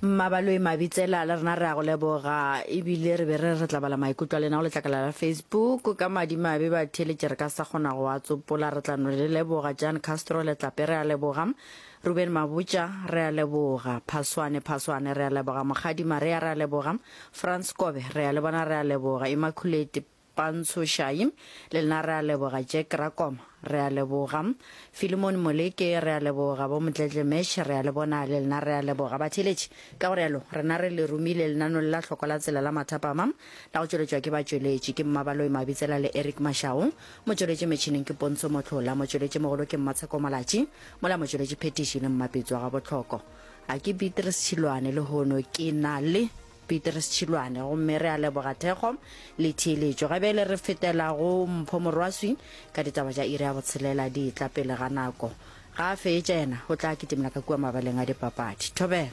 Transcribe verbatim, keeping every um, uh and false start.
Mmabaloi Mabitsela, le rena re a go leboga. Ebile re be re re tla bala maikutlo a lena go letlakala la Facebook. Ka madimabe batheeletši re ka sa kgona go a tsopola, re tla no le leboga. Jan Castro Letlape re a leboga. Ruben Mabotja re a leboga. Phaswane Phaswane re a leboga. Mokgadi Maria re a leboga. Frans Kobe re a le bona re a leboga. Immaculate Pantsho Shai le lena re a leboga. Jack Rakoma re a leboga. Philemon Moleke re a leboga. Bo Motletle Mesh re a le bona le lena re a leboga. Batheeletši ka go rialo rena re le romile lenaneo le la hlokwa la tsela la mathapama la go tšweletšwa ke batšweletši ke Mmabaloi Mabitsela le Eric Mashau. Motšweletši metšhineng ke Pontsho Mohlola, motšweletši mogolo ke Mmatsheko Malatši, mola motšweletši phetiši le Mmapetso wa Gabohloko. A ke Beatrice Tšhilwane lehono ke na le Petrus Tšhilwane gomme re a leboga thekgo le theeletšo. Ga bjale re fetela go Mpho Morwaswi ka ditaba tša iri ya botshelela di etla pele ga nako. Ga a fetša yena o tla kitimela ka kua mabaleng a dipapadi. Thobela.